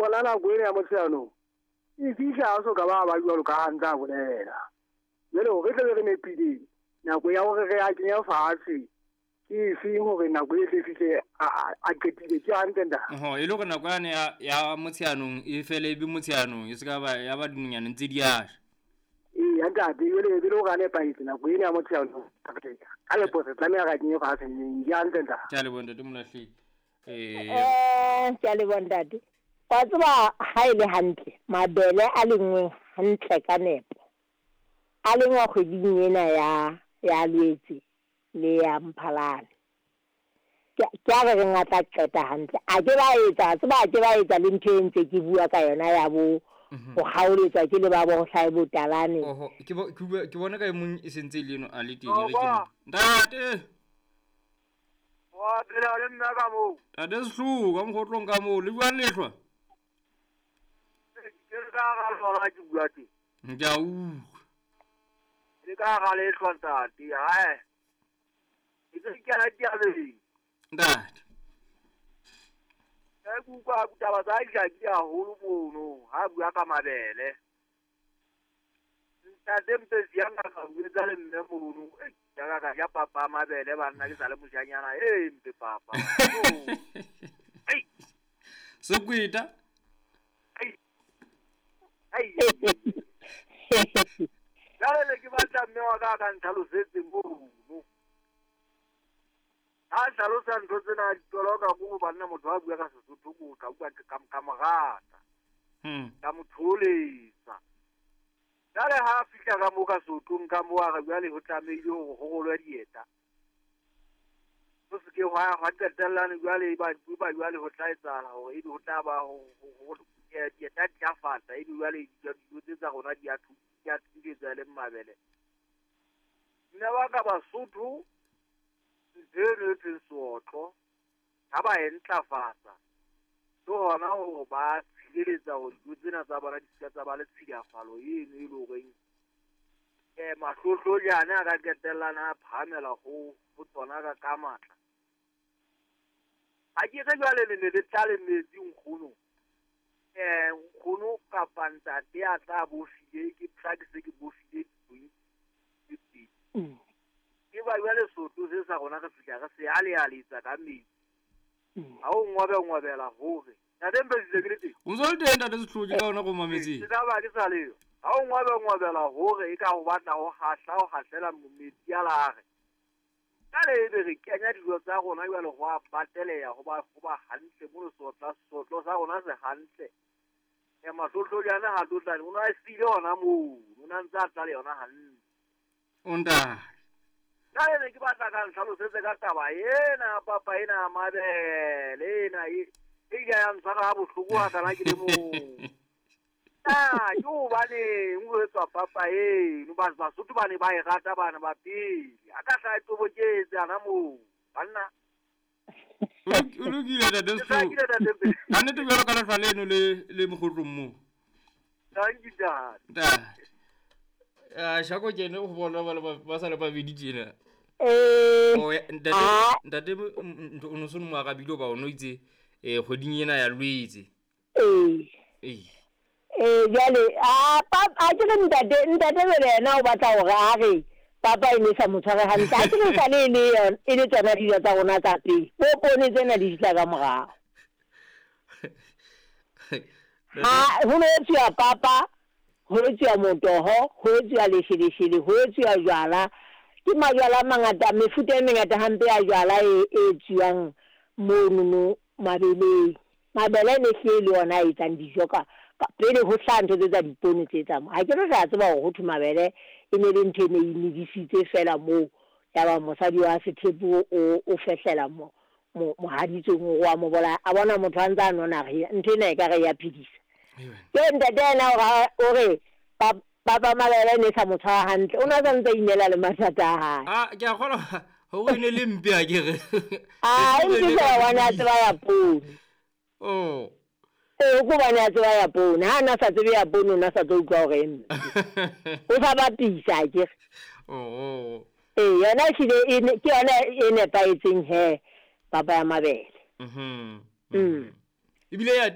Yona nako ena ya Motsheanong e fihla a so ka ba ba jwalo ka ha ntse a bolela. Jwale hore tle be re nepile nako ya hore re a kenya fatshe ke efeng hore nako e tle fihle a qetile ke hantle ntate. Oho, e le hore nako yane ya Motsheanong e fele e be Motsheanong e se ka ba ya ba dinonyane ntse di a sha. Eya ntate, jwale e be le hore a nepahetse nako ena ya Motsheanong ka nepo re tlameha re a kenye fatshe neng ke hantle ntate. Ke a leboha ntate Molahlehi. Ke a leboha ntate. Wa tseba ha e le hantle mabele a lengweng hantle ka nepo a lengwa kgweding ena ya Lwetse le ya Mphalane. Ke a re reng a tla qeta hantle. A ke ba etsa, tseba a ke ba etsa le ntho e ntse ke bua ka yona ya bo ho kgaoletswa ke le ba bo ho hlahe botalane. Oho, ke bona ka e mong e sentse le eno a le teng re ke ntate. Wa phela le nna ka moo. Ntate Sehloho ka mokgotlong ka moo le jwang lehlwa? Ke re ka hara lona ke bua teng. Ke a utlwa. Ke ka hara lehlwa ntate, hae. Ke tse ke ana diabeng. Ntate. Ke utlwa ditaba tsa Jaki haholo mono, ha bua ka mabele. Ntate Mpetsi ya nka ka buetsa le mme mono. Ya ka ja papa mabele banna ke sa le mojanyana. Mpe papa. Ei. Sekweta. Ei. Ei. Jwale ke batla mme wa ka ka ntlhalosetse mono. Ha hlalosa ntho tsena ditoloka ko banna motho a bua ka Sesotho ko ka bua ka morata. Ka motholetsa. Jwale ha fihla ka mo ka Sothong ka mo a re jwale ho tlamehile hore ho rolwe dieta. Ho se ke hwa qetellane jwale ba jwale ho tla etsahala hore ebe ho tla ba ho dieta di tla fata ebe jwale dijo tse tsa rona di a thuletsa le mabele. Nna ba ka Basotho ntho eno e thweng seotlo ha ba e ntlafatsa ke hona hore ba tshireletsa hore dijo tsena tsa bona di seka tsa ba le tshilafalo eno e le horeng mahlohlojane a ka qetellana a phahamela ho tsona ka matla. Ha ke re jwale le ne le tlale metsi nkgono. Nkgono kapa ntate a tla bofile ke tla ke se ke bofile teng. Ke ba jwale Sotho se sa rona re fihla re se alealetsa ka metsi. Ha o ngwabela hore ntate Mpetsi ke le teng. O ntse o le teng ntate Sehloho ke ka ona go mametseng. Ke tla ba ke sa leyo. Ha o ngwabela hore e ka ho batla ho hahlela metsi a lare. Ka le ebe re kenya dijo tsa rona jwale ho a bateleha ho ba hantle mo sotlo sa rona se hantle. Mahlohlojane ha tlotlane o na siile hona moo, o na ntse a tla le yona hantle. O ntate. Jwale ne ke batla ka ntlhalosetse ka taba ena papa ena mabele ena e ile ya ntshwara ha bohloko ha kana ke le mong. Ke hobaneng ho etswa papa eno Basotho ba ne ba e rata bana ba pele. A ka hla e toboketse ana moo banna. O lokile ntate Sehloho. Ka nnete jwalo ka lehlwa leno le mokgotlong moo. Thank you ntate. Ntate. Shako ke ene ho bona ba sa le babedi tjena. Ntate o no se mo arabile ba o no itse kgweding ena ya Lwetse. Jwale a ke re ntate jwale yena o batla hore a re papa e ne sa mo tshware hantle. A ke re sale e le e le tsona dijo tsa rona tsa pele. Bo poone tsena di fihla ka morao. Ha ho no etsuwa papa, ho etsuwa motoho, ho etsuwa lesheleshele, ho etsuwa jwala. Ke majwala a mangata, mefuta e mengata hampe ya jwala e etsuwang monono mabeleng. Mabele ne hlile le ona a etsang dijo ka pele ho hlaha ntho tse tsa dipoone tse tsa mo. Ha ke re re a tseba hore ho thwe mabele e ne le ntho e ne e medisitse fela moo. Ya ba mosadi wa Sethepu o fehlela mohaditsong o wa mo bolaya. A bona motho a ntse a nona re ntho ena e ka re ya phedisa. Ke ntate yena o re papa mabele ne sa mo tshwara hantle. O na sa ntse inela le mathata a hae. Ke a kgolwa hore e ne le mpe a ke re. E mpe fela wa ne a tseba ya poone. Oh. Ko bane a tseba ya poone. Ha na sa tsebe ya poone o na sa tlo utlwa hore e mpe. O sa bapisa a ke re. Oh. Yona ehlile ke yona e nepahetseng he papa ya mabele. Ebile ya